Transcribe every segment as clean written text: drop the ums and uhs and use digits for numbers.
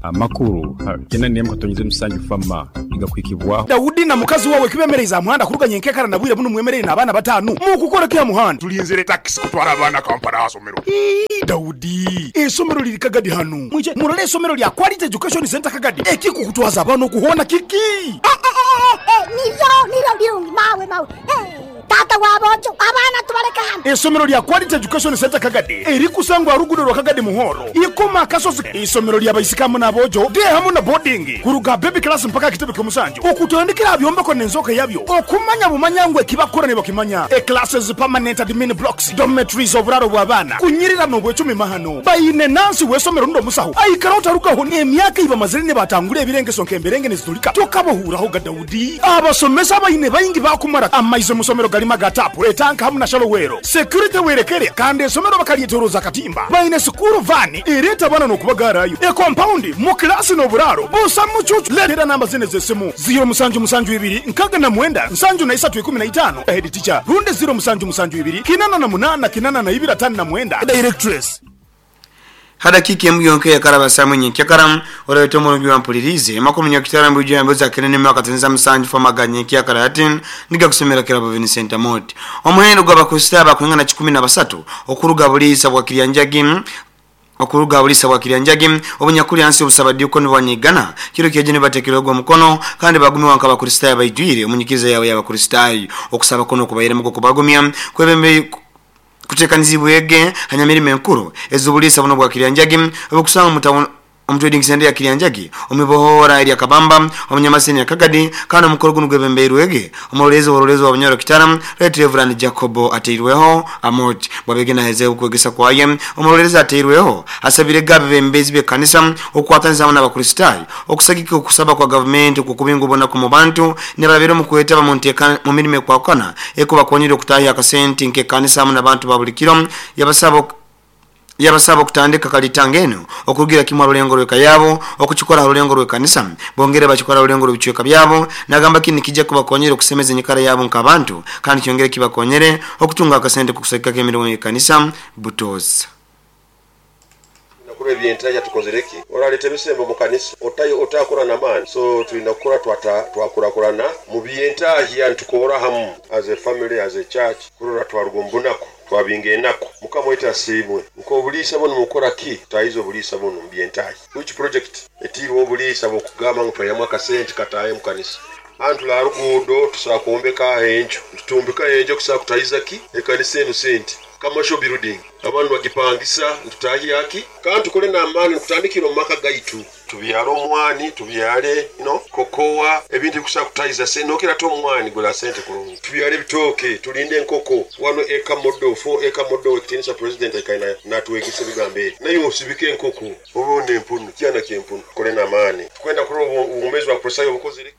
Amakuru ha 81.7 Fama nigakuhikibwaho. Daudi na mukazi wawe kibemereize aha muhanda kuruga nyenkekara na bwire bunu mwemereire n'abaana batanu. Mukukora ki aha muhanda? Tulinzire takisi kutwara abaana Kampala aha somero. Ii, Daudi, eisomero liri Kagadi hanu. Mwije murole eisomero lya Quality Education Centre Kagadi. Ekikukutwaza abaana oku hoona kiki? Eh, eh, eh, eh, niryo, niryo birungi, mawe, mawe. Eh, taata w'aboojo, abaana tubaleke hanu. Eisomero lya Quality Education Centre Kagadi erikusangwa aha ruguudo rwa Kagadi Muhoro, Ikoma Akasozi. Eisomero lya baisiki hamu n'aboojo, day hamu na boarding, kuruga aha baby class mpaka aha kitebe ky'omusanju. Okutandikira aha byombeko n'enzooka yabyo, okumanya bumanya ngu eki bakukora nibakimanya. E Classes, permanent admin blocks, dormitories, oburaaro bw'abaana, kunyirira n'obwecumi mahano. Baine nansi w'eisomero rundi omusaho aikaraho tarugaho. Emyaka ei bamazire nibatangura ebirengeso nk'emberenge niziturika, tokabahuurahoga Daudi. Abasomesa abaine baingi baakumara amaizi omu somero garimu aga taapu, etanka hamu na shallow well. Security werekere kandi eisomero bakaryetoroza akatimba. Baine sikuuru vaani ereeta abaana n'okubagaarayo. E compound, mu kilaasi n'oburaaro busa mucuucu. Leetera namba zinu ez'esimu, ziiro musanju musanju ibiri nkaga na mwenda nsanju na isatu ikumi na itaano, head teacher, rundi ziiro musanju musanju ibiri kinana na munaana kinana na ibiri atano na mwenda, directress. Ha dakiika emu yonka eyakaraba saamu nyenkyakara, oraita omurungi wampuliriize makumi nyakitara mbwijo ya mbuzi akene nemyaka tenza musanju famaga nyenkyakara hati nigakusomera kirabo Vincent Amoti. Omuhendo gw'Abakristaayo abakwingana 13 okuruga buliisa bwa Kiryanjagi okuruga buliisa bwa Kiryanjagi obunyakuli hansi y'obusabadiikoni bwa Nyigana kiro kyejo nibatekerwego omukono kandi bagumiwa nk'Abakristaayo abaijwire omunyikiriza yabo y'Abakristaayo. Okusaba kunu okubairemu okubagumya kwebembe kutekanizibwege hanyamirimo enkuru ez'obuliisa buno bwa Kiryanjagi obukusangwa omu town omu trading center ya Kiryanjagi omu ibohora erya Kabamba omu Nyamaseni ya Kagadi kandi omukoro gunu gwebembeirwege omuroleezi w'oburoleezi wa Bunyoro Kitara Right Reverend Jacobo ateirweho Amoti. Bwabege nahezeho okwegesa kwaye omuroleezi ateirweho asabirege abebembezi b'ekanisa okukwataniza hamu n'Abakristaayo okusagika okusaba kwa gavumenti okukubinga obunaku mu bantu nibarabira omu kwetaba mu nteeka mu mirimo ekwahukana ekubakonyera okutahya akasente nk'ekanisa hamu n'abantu ba buli kiro. Yabasaba yabasaba okutandika kalitanga eno okurugira kimu ha rulengo rw'eka yabo okukikora ha rulengo rw'ekanisa bongere bakikora ha rulengo rw'ebicweka byabo. Nagamba kinu nikijja kubakonyera okusemeza enyikara yabo nk'abantu kandi kyongere kibakonyere okutunga akasente k'okusagikako emirimo y'ekanisa butoosa. Tulina kurora ebyentahya tukozire ki? Oraleta ebisembo mu kanisa otakora n'amaani, so tulina kukora twakurakurana mu byentahya nitukora hamu as a family, as a church, kurora twaruga omu bunaku twabinga enaku. Mukama waitu asiimwe. Nk'obuliisa bunu mukora ki? Tutahize obuliisa bunu mu byentahya. Which project etiirwe obuliisa bw'okugamba ngu twaihamu akasente kataahe mu kanisa? Hanu tuli aha ruguudo tusobola kwombeka enju, nitutumbika enju okusobola kutahiza ki ekanisa enu sente. Commercial building abantu nibagipangisa nitutahya ki? Kandi tukole n'amaani nikutandikira omu maka gaitu. Tubyare omwani, tubyare you know, kokowa, ebintu ebikusobola kutahiza sente. Nokira ate omwani gura sente kurungi. Tubyare ebitooke, tulinde enkoko. 1 acre model, 4 acre model, ekitinisa president aikaire natwegesa ebigambo ebi. Naiwe osibike enkoko, obe n'empunu, kyana ky'empunu. Tukole n'amaani. Tukwenda kurora obwomeezi bwa Kristaayo obukozire ki?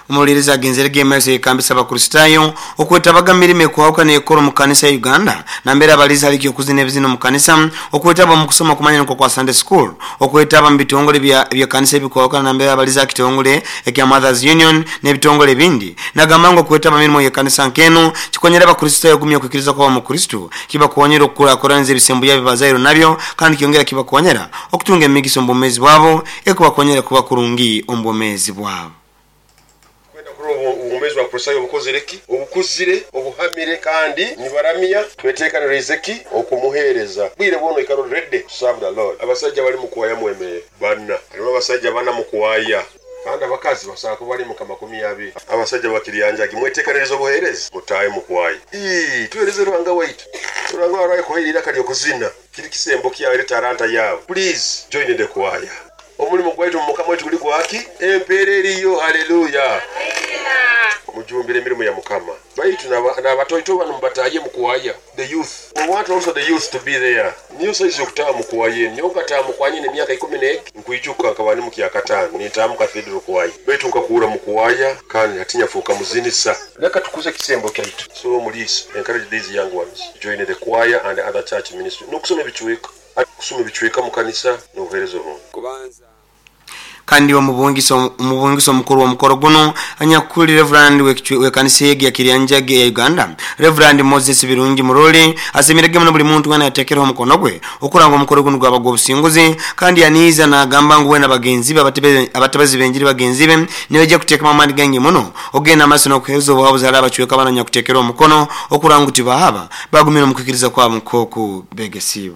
Omuroleerezi agenzerege emaiso yekambisa Abakristaayo okwetabaga mu mirimo ekwahukana ekora omu kanisa ya Uganda nambere abaliza hali eky'okuzina ebizina omu kanisa, okwetaba omu kusoma okumanya nukwo kwa Sunday School, okwetaba mu bitongole by'ekanisa ebikwahukana nambere abaliza ha kitongole ekya Mothers Union n'ebitongole ebindi. Nagamba ngu okwetaba mu mirimo y'ekanisa nk'enu kikonyera Abakristaayo okugumya okwikiriza kwabo omu Kristo, kibakonyera okukurakuraniza ebisembo byabo ebibazairwe nabyo kandi kyongera kibakonyera okutunga emigisa omu bwomeezi bwabo ekubakonyera kuba kurungi omu bwomeezi bwabo. Kwenda kurora obwomeezi bwa Kristaayo obukozire ki? Obukuzire, obuhamire kandi nibaramya. Twetekaniriize ki okumuheereza? Bwire bwona oikara ori ready to serve the Lord. Abasaija bali mu kwaya mwemere bana. Harimu abasaija bana mu kwaya kandi abakazi basobola kuba bali nka makumi abiri. Abasaija ba Kiryanjagi mwetekanirize obuheereza? Mutaahe mu kwaya. Ii, tuheereze Ruhanga waitu. Ruhanga waraye kuhaire eiraka ry'okuzina. Kiri kisembo kyawe eri taranta yawe. Please join the choir. Omulimo gwaitu omu Mukama waitu guli gwaki? Empeera eriyo. Haleluya! Mujumbire emirimo ya Mukama. Baitu n'abatoito banu mubatahye mu kwaya. The youth. We want also the youth to be there. Niyo size y'okutaaha mu kwaya enu. Nyowe nkataaha mu kwaya nyine emyaka ikumi n'eki. Nkwijuka nkaba ndi mu kyakataano nintaaha mu Cathedral kwaya. Baitu nkakuura mu kwaya kandi hati nyafuuka muzinisa. Leka tukuze ekisembo kyaitu. So omuliisa, encourage these young ones join the choir and other church ministry n'okusoma ebicweka. Kusoma ebicweka mu kanisa n'obuheereza obundi. Kandi omubungisa omukuru w'omukoro guno anyakuli Reverend w'ekanisa egi ya Kiryanjage ya Uganda, Reverend Moses Birungi Muroli, asimirege muno buli muntu wena yatekereho omukono gwe okuranga omukoro guno gwaba gw'obusinguzi. Kandi yaniiza n'agamba ngu wena bagenzi be abatebezi b'enjiri bagenzi be nibajja kuteekamu amaani gangi muno ogenda amaaso n'okuheereza obuhabuzi hali abacweka abana nyakuteekera omukono okuranga ngu tibahaba bagumire omu kwikiriza kwabo nk'oku begesiibwe.